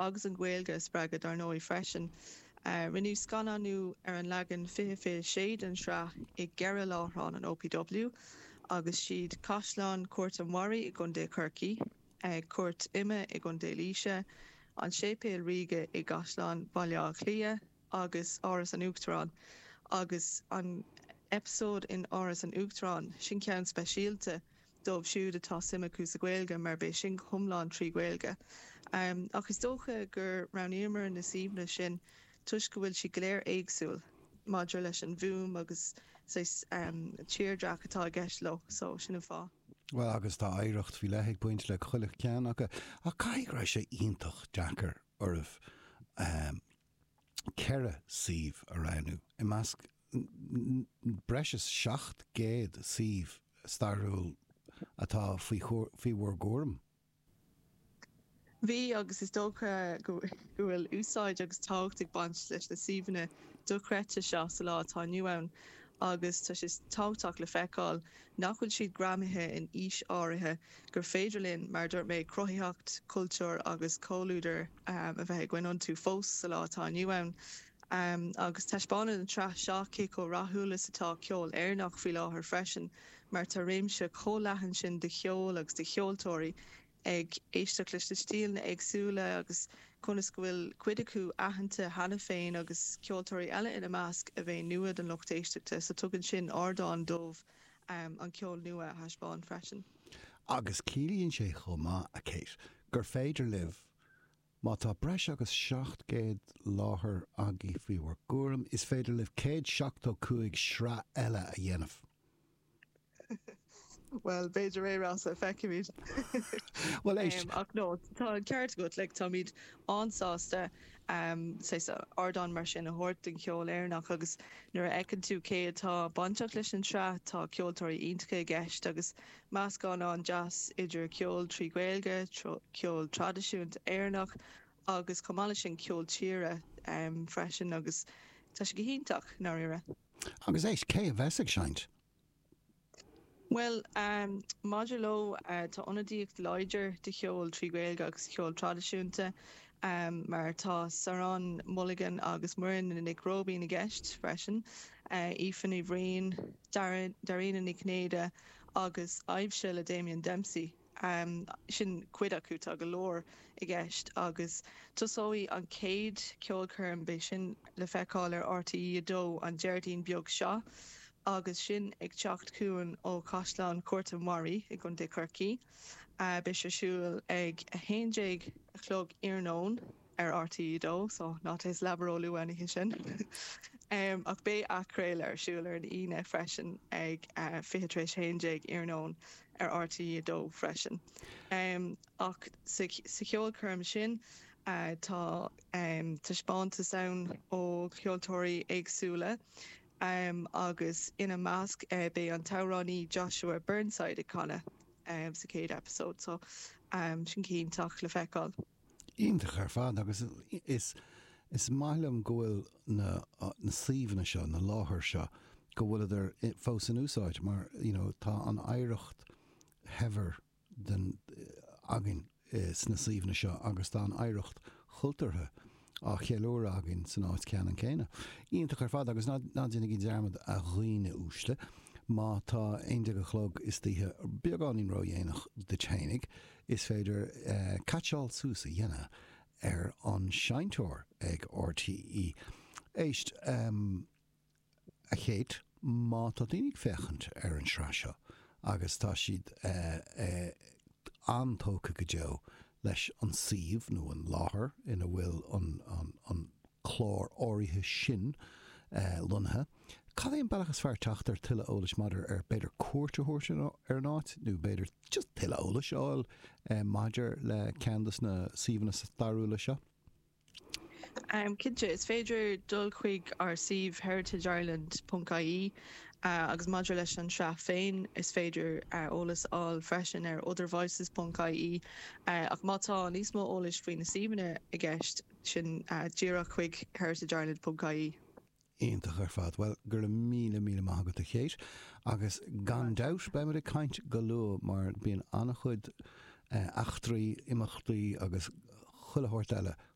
Agus an Ghaeilge a spreagadh dar ndóigh freisin. Rinneadh scannánú ar an leagan 2026 den tsraith i gceithre láithreán an OPW agus siad Caisleán Chúirt an Bharraigh i gContae Chorcaí, Cúirt Ime i gContae Laoise, an Séipéal Ríoga i gCaisleán Bhaile Átha Cliath agus Áras an Uachtaráin. Agus an eipeasóid in Áras an Uachtaráin, sin ceann speisialta. dóibh siúd atá suim acu sa Ghaeilge mar beidh sin go hiomlán trí Ghaeilge. Ach is dócha gur roghnaíomar na suíomhanna sin toisc go bhfuil siad go léir éagsúil maidir leis an bhfuaim agus saghas tírdhreach atá i gceist leo, so sin an fáth. Bhuel agus tá oidhreacht faoi leith ag baint le chuile cheann acu ach caithfidh go raibh sé iontach deacair oraibh 4 suíomh a roghnú i measc breis is 700 suíomh stairiúil atá faoi faoi bhur gcúram. Bhí, agus is dócha go bhfuil úsáid agus tábhacht ag baint leis na suíomhanna dochreidte seo sa lá atá inniu ann agus tá sé tábhachtach le feiceáil nach bhfuil siad greamaithe in aois áirithe, gur féidir linn, mar a dúirt mé, cruthaitheacht, cultúr agus comhluadar a bheith againn iontu fós sa lá atá inniu ann. Agus taispeánann an tsraith seo cé chomh rathúil is atá ceol Éireannach faoi láthair freisin, mar tá réimse chomh leathan sin de cheol agus de cheoltóirí ag éisteacht leis na stíleanna éagsúla agus conas go bhfuil cuid acu aitheanta cheana féin agus ceoltóirí eile ina measc a bheidh nua don lucht éisteachta, so tugann sin ardán dóibh an ceol nua a thaispeáint freisin. Agus ciallaíonn sé chomh maith, a Kate, gur féidir libh, má tá breis agus 700 láthair agaibh faoi bhur gcúram, is féidir libh 175 sraith eile a dhéanamh. Bhuel, b'fhéidir é, Rossa, feicfimid. Bhuel, éist. Ach no, tá an ceart agat, like, táimid an-sásta saghas ardán mar sin a thabhairt don cheol Éireannach agus nuair a fheiceann tú cé atá bainteach leis an tsraith, tá ceoltóirí iontacha i gceist agus meascán an-deas idir ceol trí Ghaeilge, ceol traidisiúnta Éireannach agus chomh maith leis sin ceol tíre freisin agus tá sé go hiontach, i ndáiríre. Agus éist, cé a bheas ag seinnt? Bhuel, maidir leo, tá ionadaíocht láidir de cheol trí Ghaeilge agus ceol traidisiúnta, mar tá Saran Mulligan agus Muireann Nic Róibín i gceist freisin, Aoife Ní Bhriain, Dairena Ní Chinnéide agus Aibhse le Damien Dempsey. Sin cuid acu, tá go leor i gceist agus tosóidh an chéad cheolchoirm, beidh sin le feiceáil ar RTÉ 2 an Déardaoin beag seo agus sin ag teacht chugainn ó Chaisleán Chúirt an Bharraigh i gContae Chorcaí. Beidh sé ar siúl ag 11 a chlog iarnóin. ar RTÉ 2, so ná téigh sa leaba ró-luath an oíche sin. Ach beidh athchraoladh ar siúl ar an Aoine freisin ag 11 tar éis 11 iarnóin ar RTÉ 2 freisin. Ach sa cheolchoirm sin tá taispeántas ann ó cheoltóirí éagsúla agus ina measc beidh an t-amhránaí Joshua Burnside ag canadh sa chéad eipeasóid, so sin go hiontach le feiceáil. Iontach ar fad agus is is maith liom go bhfuil na na suíomhanna seo, na láthair seo, go bhfuileadar fós in úsáid mar you know tá an oidhreacht shaibhir den againn sna suíomhanna seo agus tá an oidhreacht chultúrtha á cheiliúradh againn san áit ceannann céanna. Iontach ar fad agus ná ná déanaigí dearmad a dhaoine uaisle, má tá 11 a chlog istoíche beagáinín ródhéanach duit fhéinig, Is féidir caitseáil suas a dhéanamh ar an seinnteoir ag RTÉ. Éist, a Kate, má tá daoine ag féachaint ar an sraith seo agus tá siad an-tógtha go deo leis an suíomh nó an láthair ina bhfuil an clár áirithe sin lonnaithe, Cad é an bealach is fearr teacht ar tuilleadh eolais maidir ar b'fhéidir cuairt a thabhairt ar an áit nó b'fhéidir just tuilleadh eolais a fháil maidir le ceann de na suíomhanna stairiúla seo? Cinnte, is féidir dul chuig ár suíomh heritageireland ponc ie agus maidir leis an tsraith féin is féidir eolas a fháil freisin ar othervoices ponc ie ach má tá níos mó eolais faoi na suíomhanna i gceist sin díreach chuig heritageireland ponc ie. Iontach ar fad. Bhuel, go raibh míle, míle maith agat a Kate. Agus gan dabht, beimid ag caint go luath mar bíonn an-chuid eachtraí, imeachtaí agus. chuile shórt eile.